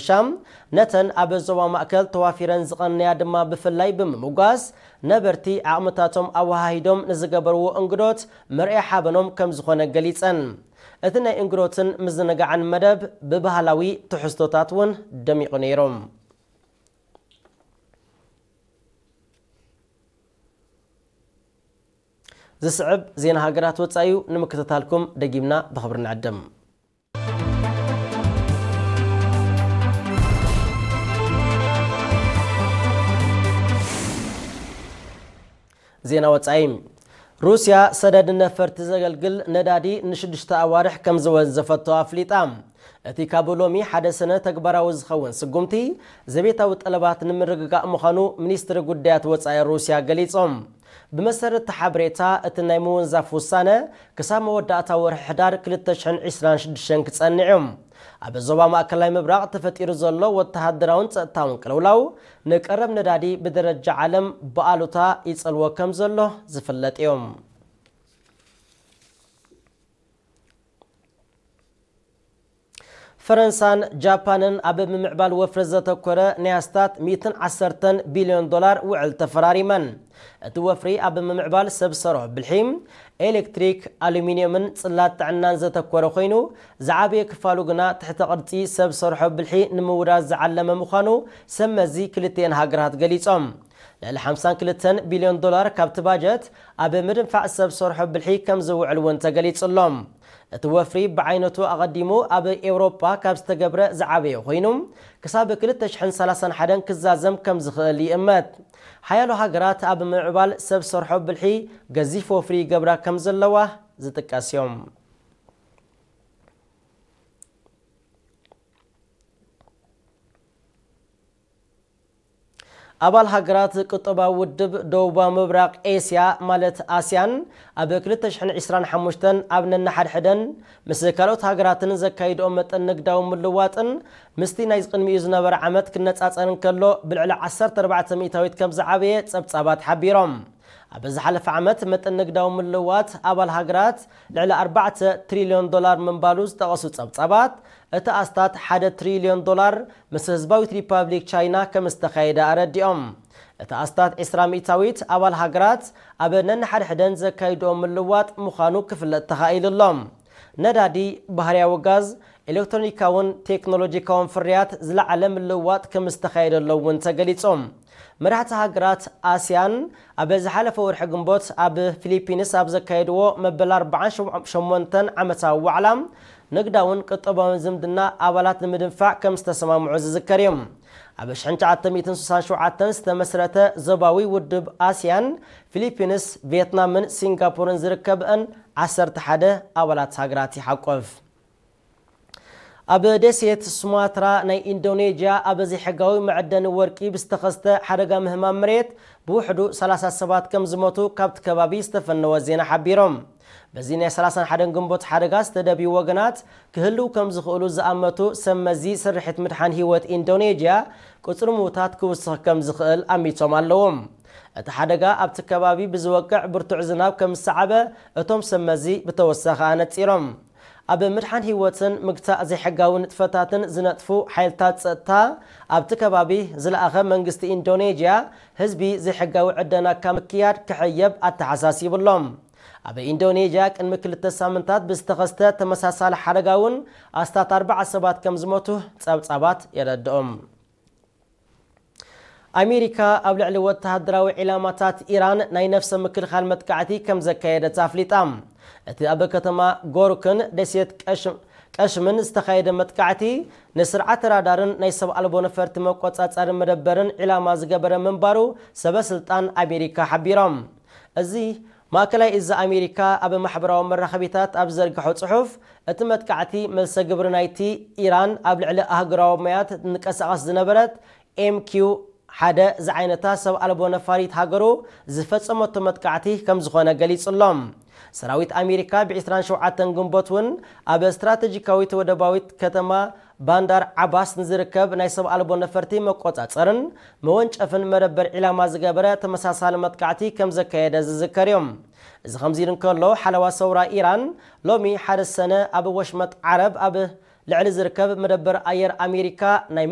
ሻም ነተን ኣብ ዞባ ማእከል ተዋፊረን ዝቐነያ ድማ ብፍላይ ብምምጓስ፣ ነበርቲ ዓቕምታቶም ኣወሃሂዶም ንዝገበርዎ እንግዶት መርኣያ ሓበኖም ከም ዝኾነ ገሊጸን። እቲ ናይ እንግዶትን ምዝንጋዕን መደብ ብባህላዊ ትሕዝቶታት እውን ደሚቑ ነይሩ። ዝስዕብ ዜና ሃገራት ወጻኢ እዩ። ንምክትታልኩም ደጊምና ብኽብሪ ንዕድም። ዜና ወጻኢ። ሩስያ ሰደድ ነፈርቲ ዘገልግል ነዳዲ ንሽዱሽተ ኣዋርሕ ከም ዝወንዘፈቶ ኣፍሊጣ። እቲ ካብ ሎሚ ሓደ ሰነ ተግባራዊ ዝኸውን ስጉምቲ ዘቤታዊ ጠለባት ንምርግጋእ ምዃኑ ሚኒስትሪ ጉዳያት ወጻኢ ሩስያ ገሊጾም። ብመሰረት እቲ ሓበሬታ፣ እቲ ናይ ምውንዛፍ ውሳነ ክሳብ መወዳእታ ወርሒ ሕዳር ክልተ ሽሕን ዕስራን ሽዱሽተን ክጸንዕ እዩ። ኣብ ዞባ ማእከላይ ምብራቕ ተፈጢሩ ዘሎ ወተሃደራውን ጸጥታውን ቅልውላው ንቀረብ ነዳዲ ብደረጃ ዓለም ብኣሉታ ይጸልዎ ከም ዘሎ ዝፍለጥ እዩ። ፈረንሳን ጃፓንን ኣብ ምምዕባል ወፍሪ ዘተኮረ ናይ ኣስታት ሚእትን ዓሰርተን ቢልዮን ዶላር ውዕል ተፈራሪመን። እቲ ወፍሪ ኣብ ምምዕባል ሰብ ሰርሖ ብልሒ፣ ኤሌክትሪክ፣ ኣሉሚንየምን ጽላት ጥዕናን ዘተኮረ ኮይኑ፣ ዝዓበየ ክፋሉ ግና ትሕተ ቅርጺ ሰብ ሰርሖ ብልሒ ንምውዳድ ዝዓለመ ምዃኑ ሰብ መዚ ክልቲኤን ሃገራት ገሊጾም። ልዕሊ ሓምሳን ክልተን ቢልዮን ዶላር ካብቲ ባጀት ኣብ ምድንፋዕ ሰብ ሰርሖ ብልሒ ከም ዝውዕል እውን ተገሊጹ ኣሎ። እቲ ወፍሪ ብዓይነቱ ኣቐዲሙ ኣብ ኤውሮጳ ካብ ዝተገብረ ዝዓበየ ኮይኑ፣ ክሳብ ክልተ ሽሕን ሰላሳን ሓደን ክዛዘም ከም ዝኽእል ይእመት። ሓያሎ ሃገራት ኣብ ምምዕባል ሰብ ሰርሖ ብልሒ ገዚፍ ወፍሪ ይገብራ ከም ዘለዋ ዝጥቀስ እዮም። ኣባል ሃገራት ቁጠባዊ ውድብ ደቡባዊ ምብራቕ ኤስያ ማለት ኣስያን ኣብ ክልተ ሽሕን ዕስራን ሓሙሽተን ኣብ ነንሓድሕደን ምስ ካልኦት ሃገራትን ዘካይድኦ መጠን ንግዳዊ ምልዋጥን ምስቲ ናይ ቅድሚኡ ዝነበረ ዓመት ክነጻጸር እንከሎ ብልዕሊ ዓሰርተ ኣርባዕተ ሚእታዊት ከም ዝዓበየ ጸብጻባት ሓቢሮም። ኣብ ዝሓለፈ ዓመት መጠን ንግዳዊ ምልዋጥ ኣባል ሃገራት ልዕሊ ኣርባዕተ ትሪልዮን ዶላር ምንባሉ ዝጠቐሱ ጸብጻባት፣ እቲ ኣስታት ሓደ ትሪልዮን ዶላር ምስ ህዝባዊት ሪፓብሊክ ቻይና ከም ዝተኻየደ ኣረዲኦም። እቲ ኣስታት ዕስራ ሚእታዊት ኣባል ሃገራት ኣብ ነንሓድሕደን ዘካይድኦ ምልዋጥ ምዃኑ ክፍለጥ ተኻኢሉ ኣሎ። ነዳዲ፣ ባህርያዊ ጋዝ፣ ኤሌክትሮኒካውን ቴክኖሎጂካውን ፍርያት ዝለዓለ ምልውዋጥ ከም ዝተኻየደሎ እውን ተገሊጹ። መራሕቲ ሃገራት ኣስያን ኣብ ዝሓለፈ ወርሒ ግንቦት ኣብ ፊሊፒንስ ኣብ ዘካየድዎ መበል ኣርባዓን ሸሞንተን ዓመታዊ ዋዕላ፣ ንግዳውን ቁጠባውን ዝምድና ኣባላት ንምድንፋዕ ከም ዝተሰማምዑ ዝዝከር እዩ። ኣብ ሽሕን ትሽዓተ ሚእትን ስሳን ሸውዓተን ዝተመስረተ ዞባዊ ውድብ ኣስያን፣ ፊሊፒንስ፣ ቪየትናምን ሲንጋፖርን ዝርከብአን ዓሰርተ ሓደ ኣባላት ሃገራት ይሓቁፍ። ኣብ ደሴት ሱማትራ ናይ ኢንዶኔዥያ ኣብ ዘይሕጋዊ መዐደኒ ወርቂ ብዝተኸስተ ሓደጋ ምህማም መሬት ብውሕዱ ሰላሳ ሰባት ከም ዝሞቱ ካብቲ ከባቢ ዝተፈነወ ዜና ሓቢሮም። በዚ ናይ ሰላሳን ሓደን ግንቦት ሓደጋ ዝተደብዩ ወገናት ክህልው ከም ዝኽእሉ ዝኣመቱ ሰብ መዚ ስርሒት ምድሓን ህይወት ኢንዶኔዥያ ቁጽሪ ምዉታት ክውስኽ ከም ዝኽእል ኣሚቶም ኣለዎም። እቲ ሓደጋ ኣብቲ ከባቢ ብዝወቅዕ ብርቱዕ ዝናብ ከም ዝሰዓበ እቶም ሰብ መዚ ብተወሳኺ ኣነጺሮም። ኣብ ምድሓን ህይወትን ምግታእ ዘይሕጋዊ ንጥፈታትን ዝነጥፉ ሓይልታት ጸጥታ ኣብቲ ከባቢ ዝለኣኸ መንግስቲ ኢንዶኔዥያ ህዝቢ ዘይሕጋዊ ዕደና ካብ ምክያድ ክሕየብ ኣተሓሳሲቡ ኣሎ። ኣብ ኢንዶኔዥያ ቅድሚ ክልተ ሳምንታት ብዝተኸስተ ተመሳሳሊ ሓደጋ እውን ኣስታት ኣርባዓ ሰባት ከም ዝሞቱ ጸብጻባት የረድኦም። ኣሜሪካ ኣብ ልዕሊ ወተሃደራዊ ዒላማታት ኢራን ናይ ነፍሰ ምክልኻል መጥቃዕቲ ከም ዘካየደት ኣፍሊጣ። እቲ ኣብ ከተማ ጎርክን ደሴት ቀሽም ቀሽምን ዝተኻየደ መጥቃዕቲ ንስርዓት ራዳርን ናይ ሰብ ኣልቦ ነፈርቲ መቆጻጸሪ መደበርን ዒላማ ዝገበረ ምንባሩ ሰበ ስልጣን ኣሜሪካ ሓቢሮም። እዚ ማእከላይ እዚ ኣሜሪካ ኣብ ማሕበራዊ መራኸቢታት ኣብ ዘርግሖ ጽሑፍ፣ እቲ መጥቃዕቲ መልሰ ግብሪ ናይቲ ኢራን ኣብ ልዕሊ ኣህጉራዊ ማያት ትንቀሳቐስ ዝነበረት ኤም ኪው ሓደ ዝዓይነታ ሰብ ኣልቦ ነፋሪት ሃገሩ ዝፈጸመቶ መጥቃዕቲ ከም ዝኾነ ገሊጹ ኣሎ። ሰራዊት ኣሜሪካ ብ ዕስራን ሸውዓተን ግንቦት እውን ኣብ ስትራተጂካዊት ወደባዊት ከተማ ባንዳር ዓባስ ንዝርከብ ናይ ሰብ ኣልቦ ነፈርቲ መቆጻጸርን መወንጨፍን መደበር ዒላማ ዝገበረ ተመሳሳሊ መጥቃዕቲ ከም ዘካየደ ዝዝከር እዩ። እዚ ከምዚ ኢሉ እንከሎ፣ ሓለዋ ሰውራ ኢራን ሎሚ ሓደ ሰነ ኣብ ወሽመጥ ዓረብ ኣብ ልዕሊ ዝርከብ መደበር ኣየር ኣሜሪካ ናይ